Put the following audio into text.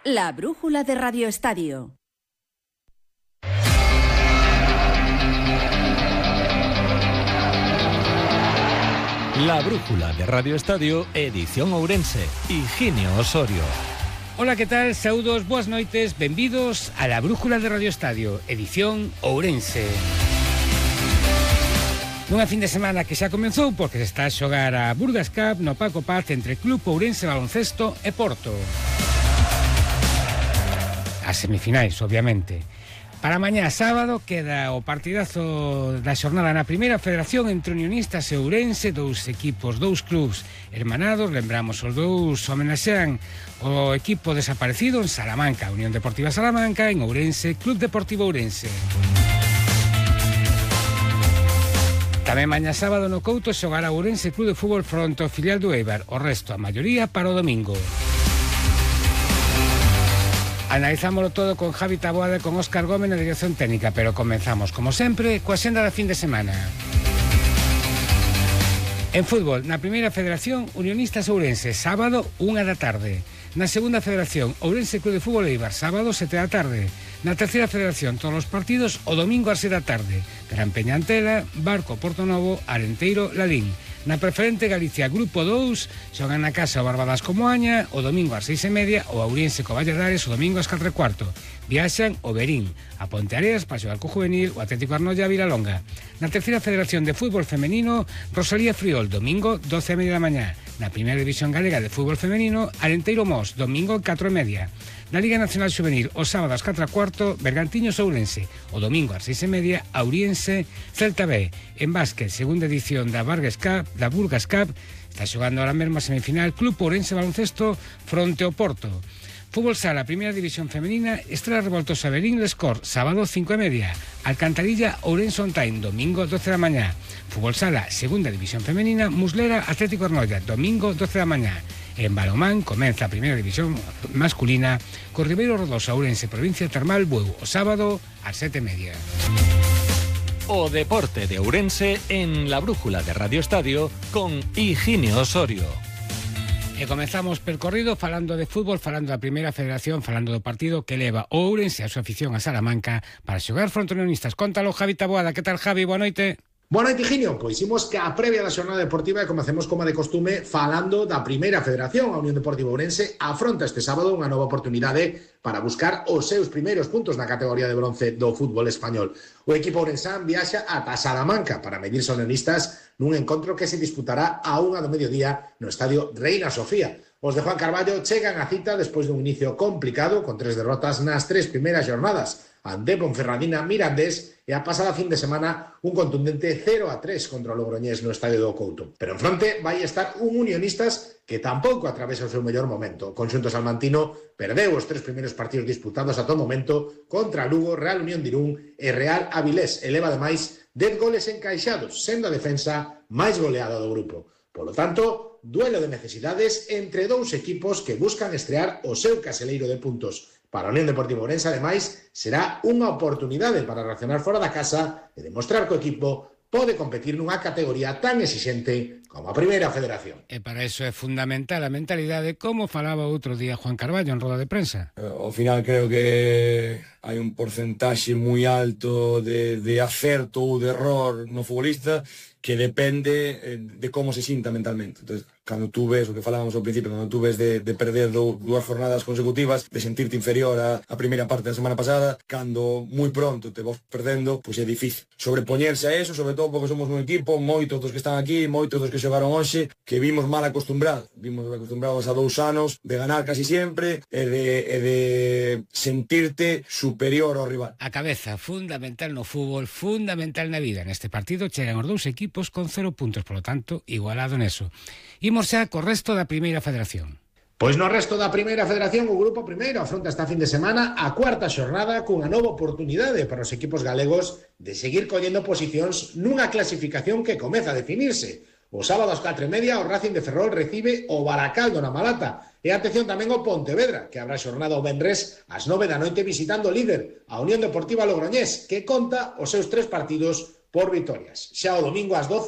La brújula de Radio Estadio. La brújula de Radio Estadio, edición Ourense, Higinio Osorio. Ola, que tal? Saúdos, boas noites, benvidos a La brújula de Radio Estadio, edición Ourense. Nunha fin de semana que xa comenzou porque se está a xogar a Burgas Cup no Paco Paz entre Club Ourense Baloncesto e Porto. As semifinais, obviamente. Para mañá sábado queda o partidazo da xornada na primeira federación entre Unionistas e Ourense, dous equipos, dous clubs hermanados. Lembramos, os dous homenaxean o equipo desaparecido en Salamanca, Unión Deportiva Salamanca, en Ourense, Club Deportivo Ourense. Tamén mañá sábado no Couto xogará Ourense Club de Fútbol fronte ao filial do Eibar, o resto, a maioría, para o domingo. Analizámoslo todo con Javi Taboada e con Óscar Gómez na dirección técnica, pero comenzamos, como sempre, coa senda da fin de semana. En fútbol, na primeira federación, Unionistas Ourense, sábado, 1 da tarde. Na segunda federación, Ourense Club de Fútbol Eibar, sábado, 7 da tarde. Na terceira federación, todos os partidos, o domingo ás 6 da tarde. Gran Peñantela, Barco, Porto Novo, Arenteiro, Ladín. Na preferente Galicia Grupo 2 xogan na casa o Barbadas co Moaña o domingo ás 6:30, o Ourense co Valladares o domingo ás 4:15. Viaxan o Berín, a Ponteareas para xogar co Juvenil, o Atlético Arnoia a Vilalonga. Na terceira federación de fútbol femenino, Rosalía Friol, domingo 12:30 da mañá. Na primeira división galega de fútbol femenino, Arenteiro Mos, domingo 4:30. Na Liga Nacional Juvenil, o sábado ás 4:15, Bergantiños Ourense, o domingo ás 6:30, Auriense Celta B. En básquet, segunda edición da Burgas Cup, está xogando ahora mesmo a semifinal Club Ourense Baloncesto fronte ao Porto. Fútbol sala, primeira división femenina, Estrela Revoltosa Berín Lescor, sábado 5:30. Alcantarilla Ourense On Time, domingo 12 da mañá. Fútbol sala, segunda división femenina, Muslera Atlético Arnoia, domingo 12 da mañá. En balonmán comeza a primeira división masculina co Ribeiro Rodosa Ourense Provincia Termal Bueu, o sábado ás 7:30. O deporte de Ourense en La brújula de Radio Estadio con Higinio Osorio. E comezamos percorrido falando de fútbol, falando da primeira federación, falando do partido que leva o Ourense a súa afición a Salamanca para xogar fronte Unionistas. Cóntalo, Javi Taboada. Que tal, Javi? Boa noite. Boa noite, Higinio. Pois imos que a previa da xornada deportiva e comecemos como de costume falando da primeira federación. A Unión Deportiva Ourense afronta este sábado unha nova oportunidade para buscar os seus primeiros puntos na categoría de bronce do fútbol español. O equipo ourensán viaxa ata Salamanca para medirse aos unionistas nun encontro que se disputará a 1 do mediodía no estadio Reina Sofía. Os de Juan Carballo chegan a cita despois dun inicio complicado con 3 derrotas nas 3 primeiras jornadas ante Ponferradina, Mirandés e a pasada fin de semana un contundente 0-3 contra o Logroñés no estadio do Couto. Pero en fronte vai estar un Unionistas que tampouco atravesa o seu mellor momento. O conxunto salmantino perdeu os 3 primeiros partidos disputados ata o momento contra Lugo, Real Unión de Irún e Real Avilés. Eleva ademais 10 goles encaixados, sendo a defensa máis goleada do grupo. Polo tanto, duelo de necesidades entre dous equipos que buscan estrear o seu caseleiro de puntos. Para a Unión Deportiva Ourense, ademais, será unha oportunidade para reaccionar fora da casa e demostrar que o equipo pode competir nunha categoría tan exixente como a primeira federación. E para iso é fundamental a mentalidade, como falaba outro día Juan Carballo en roda de prensa. Ao final creo que hai un porcentaxe moi alto de acerto ou de error no futbolista que depende de como se sinta mentalmente. Entonces, cando tú ves o que falábamos ao principio, cando tú ves de perder dúas jornadas consecutivas, de sentirte inferior a primeira parte da semana pasada, cando moi pronto te vas perdendo, pois é difícil sobrepoñerse a eso, sobre todo porque somos un equipo, moitos dos que están aquí, moitos dos que xogaron hoxe, que vimos mal acostumbrados a 2 anos de ganar casi sempre e de sentirte superior ao rival. A cabeza, fundamental no fútbol, fundamental na vida. Neste partido chegan os dous equipos con 0 puntos, polo tanto, igualado neso. Imos xa co resto da primeira federación. Pois no resto da primeira federación, o grupo primeiro afronta esta fin de semana a cuarta xornada cunha nova oportunidade para os equipos galegos de seguir collendo posicións nunha clasificación que comeza a definirse. O sábado ás 4:30 o Racing de Ferrol recibe o Baracaldo na Malata. E atención tamén ao Pontevedra, que habrá xornada o venres ás 9 da noite visitando o líder, a Unión Deportiva Logroñés, que conta os seus 3 partidos por vitorias. Xa o domingo ás 12